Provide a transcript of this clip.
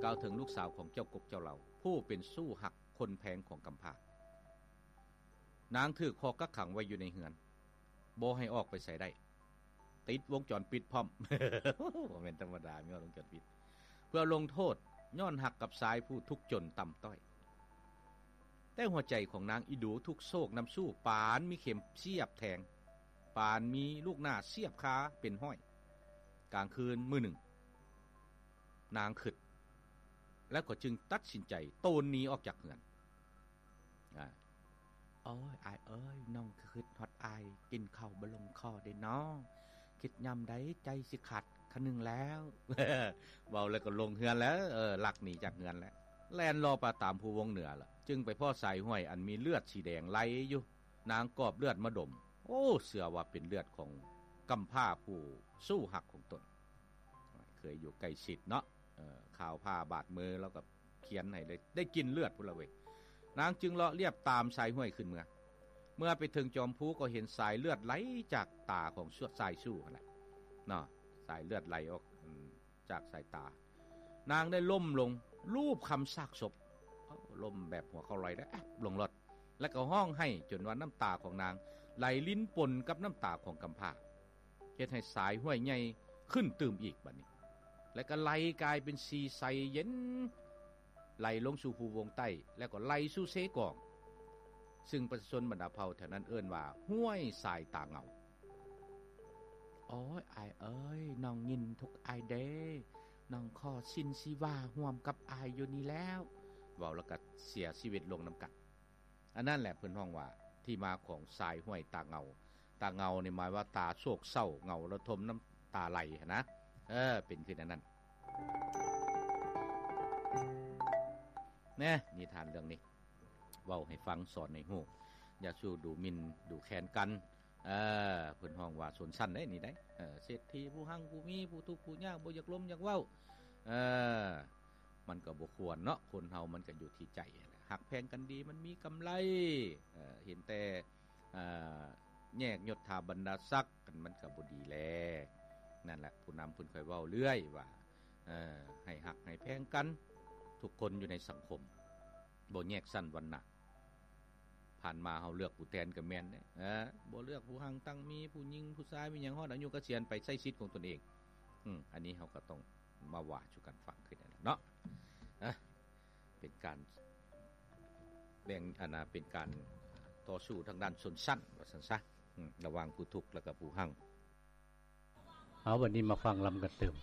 ກ່າວເຖິງລູກສາວຂອງເຈົ້າກົກເຈົ້າເຫຼົ່າ ຜູ້ເປັນຊູ້ຮັກຄົນແພງຂອງກຳພ້າ. ນາງຖືກຄອກກັກຂັງໄວ້ຢູ່ໃນເຮືອນ ບໍ່ໃຫ້ອອກໄປໃສໄດ້ ຕິດວົງຈອນປິດພ້ອມ. ບໍ່ແມ່ນທຳມະດາ ມີວົງຈອນປິດ ເພື່ອລົງໂທດ ຍ້ອນຮັກກັບຊາຍຜູ້ທຸກຈົນຕ່ຳຕ້ອຍ. ແຕ່ຫົວໃຈຂອງນາງອີ່ດູທຸກໂສກນຳສູ້ ປານມີເຂັມສຽບແທງ ປານມີລູກໜ້າສຽບຄາເປັນຮ້ອຍ. ກາງຄືນມື້ໜຶ່ງ ນາງຄຶດ ແລ້ວກໍຈຶ່ງຕັດສິນໃຈໂຕນໜີອອກຈາກເຮືອນ. ອາ ໂອ້ຍ ອ້າຍເອີຍ ນ້ອງຄຶດຮອດອ້າຍ ກິນເຂົ້າບໍ່ລົງຄໍເດ້ນ້ອງ ຄິດຍາມໃດໃຈຊິຂາດຂະໜຶ່ງແລ້ວ. ເວົ້າແລ້ວກໍລົງເຮືອນແລ້ວ ເອີ ລັກໜີຈາກເຮືອນແລ້ວ ແລ່ນລໍ່ປາຕາມພູວົງເໜືອລະ ຈຶ່ງໄປພໍ້ສາຍຫ້ວຍອັນມີເລືອດສີແດງໄຫຼຢູ່. ນາງກອບເລືອດມາດົມ ໂອ້ ເຊື່ອວ່າເປັນເລືອດຂອງກຳພ້າຜູ້ສູ້ຮັກຂອງຕົນ ເຄີຍຢູ່ໃກ້ຊິດເນາະ. ເອີ ຂ່າວພາບາດມື ລາວກໍຂຽນໃຫ້ເລີຍ ໄດ້ກິ່ນເລືອດພຸ້ນລະເວີຍ. ນາງຈຶ່ງເລາະລຽບຕາມສາຍຫ້ວຍຂຶ້ນເມືອ ເມື່ອໄປເຖິງຈອມພູກໍເຫັນສາຍເລືອດໄຫຼຈາກຕາຂອງຊາຍສູ້ຫັ້ນແຫຼະເນາະ ສາຍເລືອດໄຫຼອອກ ອາ ຈາກສາຍຕາ. ນາງໄດ້ລົ້ມລົງລູບຄຳຊາກສົບ ລົ້ມແບບຫົວເຂົ່າລອຍ ແລ້ວແອບລົງລອດ ແລ້ວກໍຮ້ອງໄຫ້ຈົນວ່ານ້ຳຕາຂອງນາງໄຫຼລິນປົນກັບນ້ຳຕາຂອງກຳພ້າ ເຮັດໃຫ້ສາຍຫ້ວຍໃຫຍ່ຂຶ້ນຕື່ມອີກບັດນີ້ ແລ້ວກໍໄຫຼກາຍເປັນສີໃສເຢັນ ໄຫຼລົງສູ່ພູວົງໃຕ້ ແລ້ວກໍໄຫຼສູ່ເຊກອງ ຊຶ່ງປະຊາຊົນບັນດາເຜົ່າແຖວນັ້ນເອີ້ນວ່າຫ້ວຍສາຍຕາເງົາ. ໂອ້ຍ ອ້າຍເອີຍ ນ້ອງຍິນທຸກອ້າຍເດ້ ນ້ອງຂໍສິ້ນຊີວາຮ່ວມກັບອ້າຍຢູ່ນີ້ແລ້ວ. ເວົ້າແລ້ວກໍເສຍຊີວິດລົງນຳກັນ. ອັນນັ້ນແຫຼະເພິ່ນຮ້ອງວ່າ ທີ່ມາຂອງສາຍຫ້ວຍຕາເງົາ. ຕາເງົານີ້ໝາຍວ່າຕາໂສກເສົ້າ ເຫງົາລະທົມນ້ຳຕາໄຫຼຫັ້ນນະ ເອີ ເປັນຄືແນວນັ້ນແນ່. ນິທານເລື່ອງນີ້ ເວົ້າໃຫ້ຟັງ ສອນໃຫ້ຮູ້ ຢ່າສູ່ດູໝິ່ນດູແຄນກັນ. ເອີ ເພິ່ນຮ້ອງວ່າຊົນຊັ້ນເດ້ນີ້ເດ້ ເອີ ເສດຖີຜູ້ຮັ່ງຜູ້ມີ ຜູ້ທຸກຜູ້ຍາກ ບໍ່ຢາກລົມຢາກເວົ້າ. ເອີ ມັນກໍບໍ່ຄວນເນາະ ຄົນເຮົາມັນກໍຢູ່ທີ່ໃຈຫັ້ນແຫຼະ ຮັກແພງກັນດີມັນມີກຳໄລ. ເອີ ເຫັນແຕ່ ເອີ ແຍກຍົດຖາບັນດາສັກ ມັນກໍບໍ່ດີແລ. ນັ້ນແຫຼະ ຜູ້ນຳເພິ່ນຄ່ອຍເວົ້າເລື້ອຍວ່າ ເອີ ໃຫ້ຮັກໃຫ້ແພງກັນ ທຸກຄົນຢູ່ໃນສັງຄົມ ບໍ່ແຍກຊັ້ນວັນນະ. ຜ່ານມາເຮົາເລືອກຜູ້ແທນກໍແມ່ນເດ້ ເອີ ບໍ່ເລືອກຜູ້ຮັ່ງຕັ້ງມີ ຜູ້ຍິງຜູ້ຊາຍ ມີຫຍັງ ຮອດອາຍຸກະສຽນໄປໃຊ້ສິດຂອງຕົນເອງ. ອືມ ອັນນີ້ເຮົາກໍຕ້ອງມາວ່າສູ່ກັນຟັງຄືນັ້ນແຫຼະເນາະ. ເອີ ເປັນການແບ່ງ ອັນນ່າ ເປັນການຕໍ່ສູ້ທາງດ້ານຊົນຊັ້ນວ່າຊັ້ນຊະ ອືມ ລະຫວ່າງຜູ້ທຸກ ແລ້ວກໍຜູ້ຮັ່ງ. ເອົາ ບັດນີ້ມາຟັງລຳກັນຕື່ມ.